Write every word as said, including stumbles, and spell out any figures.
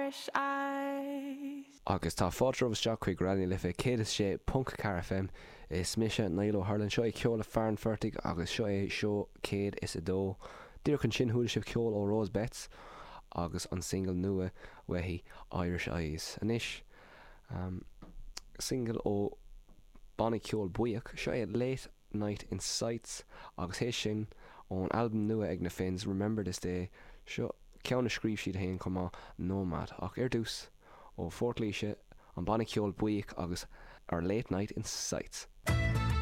Irish eyes. Agus tá fáilte romhaibh isteach chuig Raidió na Life céad is sé ponc ceathair F M. Is mise Niall Ó hUrlain, seo é Ceol le Fear an Phortaigh agus seo é seó céad is a dó. Díreach ansin chuala sibh ceol ó Rose Betts agus an single nua uaithi, Irish Eyes. Anois um, single ó banna ceol Buíoch, seo é Late Night in Sights, agus é sin ón albam nua ag na Finns, Remember This Day, seo ceann a scríobh siad féin chomh maith, Nomad. Ach ar dtús, ó Phort Laoise, an banna ceol Buíoch agus ar Late Night in Sights.